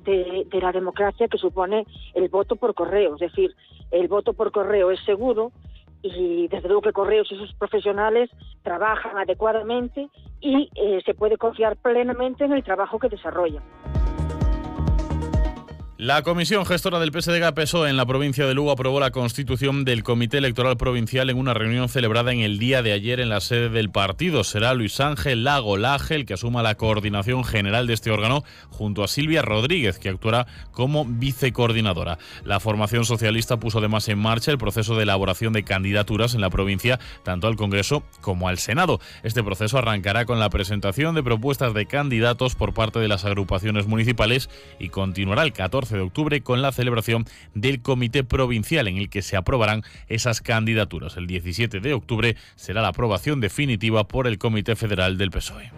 de la democracia que supone el voto por correo. Es decir, el voto por correo es seguro y desde luego que Correos y sus profesionales trabajan adecuadamente y se puede confiar plenamente en el trabajo que desarrollan. La comisión gestora del PSDG-PSOE en la provincia de Lugo aprobó la constitución del Comité Electoral Provincial en una reunión celebrada en el día de ayer en la sede del partido. Será Luis Ángel Lago Laje el que asuma la coordinación general de este órgano junto a Silvia Rodríguez, que actuará como vicecoordinadora. La formación socialista puso además en marcha el proceso de elaboración de candidaturas en la provincia, tanto al Congreso como al Senado. Este proceso arrancará con la presentación de propuestas de candidatos por parte de las agrupaciones municipales y continuará el 14 de octubre con la celebración del Comité Provincial en el que se aprobarán esas candidaturas. El 17 de octubre será la aprobación definitiva por el Comité Federal del PSOE.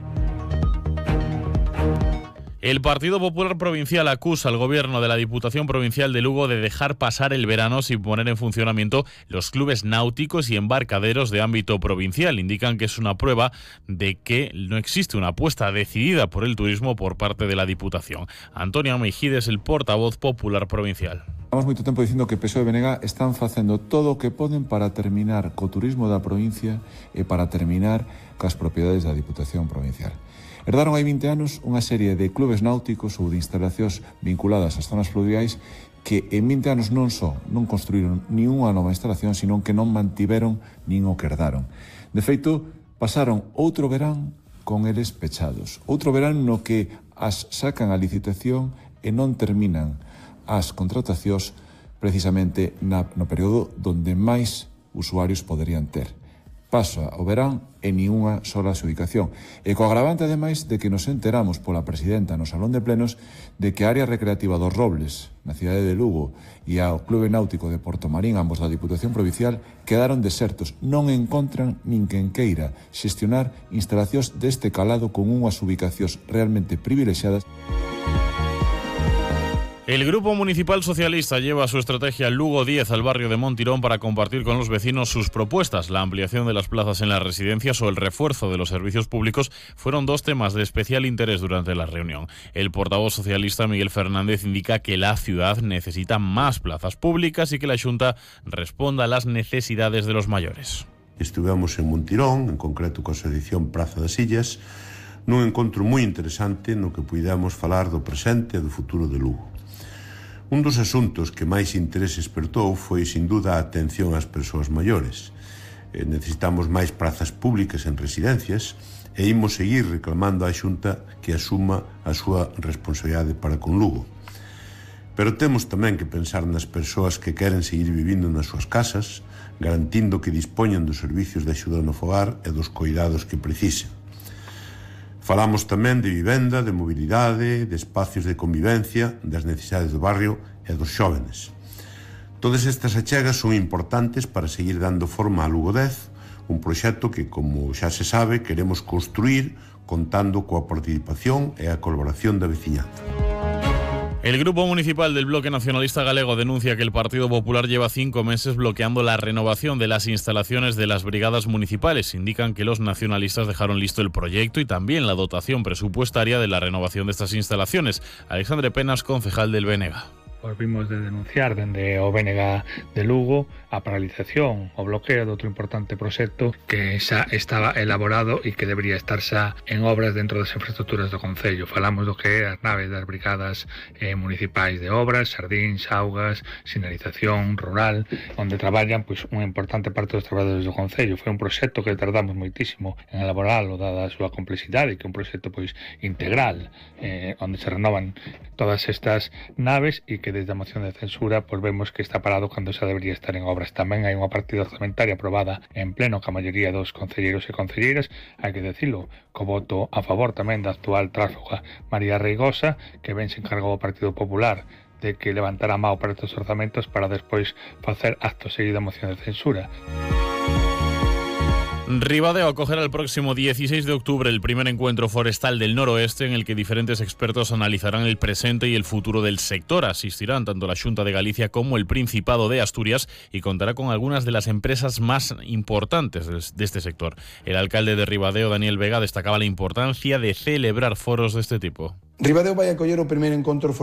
El Partido Popular Provincial acusa al gobierno de la Diputación Provincial de Lugo de dejar pasar el verano sin poner en funcionamiento los clubes náuticos y embarcaderos de ámbito provincial. Indican que es una prueba de que no existe una apuesta decidida por el turismo por parte de la Diputación. Antonio Meijides, el portavoz popular provincial. Llevamos moito tempo dicindo que PSOE e BNG están facendo todo o que poden para terminar co turismo da provincia e para terminar cas propiedades da Diputación Provincial. Herdaron hai 20 anos unha serie de clubes náuticos ou de instalacións vinculadas ás zonas fluviais que en 20 anos non só non construíron ni unha nova instalación, sino que non mantiveron nin o que herdaron. De feito, pasaron outro verán con eles pechados. Outro verán no que as sacan a licitación e non terminan as contratacións precisamente no período donde máis usuarios poderían ter. Pasa o verán e ni unha sola ubicación. E co agravante, ademais, de que nos enteramos pola presidenta no Salón de Plenos de que a área recreativa dos Robles, na cidade de Lugo, e ao Clube Náutico de Portomarín, ambos da Diputación Provincial, quedaron desertos. Non encontran nin quen queira xestionar instalacións deste calado con unhas ubicacións realmente privilexiadas. El Grupo Municipal Socialista lleva su estrategia Lugo 10 al barrio de Montirón para compartir con los vecinos sus propuestas. La ampliación de las plazas en las residencias o el refuerzo de los servicios públicos fueron dos temas de especial interés durante la reunión. El portavoz socialista Miguel Fernández indica que la ciudad necesita más plazas públicas y que la Xunta responda a las necesidades de los mayores. Estivemos en Montirón, en concreto coa asociación Praza das Illas, nun encontro moi interesante no que puidemos falar do presente e do futuro de Lugo. Un dos asuntos que máis interese espertou foi, sin duda, a atención ás persoas maiores. Necesitamos máis prazas públicas en residencias e imos seguir reclamando á Xunta que asuma a súa responsabilidade para con Lugo. Pero temos tamén que pensar nas persoas que queren seguir vivindo nas súas casas, garantindo que dispoñan dos servicios de axuda no fogar e dos coidados que precisen. Falamos tamén de vivenda, de mobilidade, de espacios de convivencia, das necesidades do barrio e dos xóvenes. Todas estas achegas son importantes para seguir dando forma a Lugo 10, un proxecto que, como xa se sabe, queremos construir contando coa participación e a colaboración da veciñanza. El Grupo Municipal del Bloque Nacionalista Galego denuncia que el Partido Popular lleva 5 meses bloqueando la renovación de las instalaciones de las brigadas municipales. Indican que los nacionalistas dejaron listo el proyecto y también la dotación presupuestaria de la renovación de estas instalaciones. Alexandre Penas, concejal del BNG. Volvimos de denunciar dende o BNG de Lugo a paralización, o bloqueo de outro importante proxecto que xa estaba elaborado e que debería estar xa en obras dentro das infraestructuras do Concello. Falamos do que é as naves das brigadas municipais de obras, xardíns, augas, sinalización rural, onde traballan pois unha importante parte dos traballadores do Concello. Foi un proxecto que tardamos moitísimo en elaborarlo, dada a súa complexidade, que é un proxecto pois integral, onde se renovan todas estas naves e que desde a moción de censura pois vemos que está parado cando xa debería estar en obras. Tamén hai unha partida orzamentaria aprobada en pleno ca maioría dos concelleiros e concelleiras, hai que decilo, co voto a favor tamén da actual tránsfuga María Reigosa, que ben se encargou o Partido Popular de que levantara a mao para estes orzamentos para despois facer acto seguido a moción de censura. Ribadeo acogerá el próximo 16 de octubre el primer encuentro forestal del noroeste en el que diferentes expertos analizarán el presente y el futuro del sector. Asistirán tanto la Xunta de Galicia como el Principado de Asturias y contará con algunas de las empresas más importantes de este sector. El alcalde de Ribadeo, Daniel Vega, destacaba la importancia de celebrar foros de este tipo. Ribadeo vai acoller o primeiro encontro forestal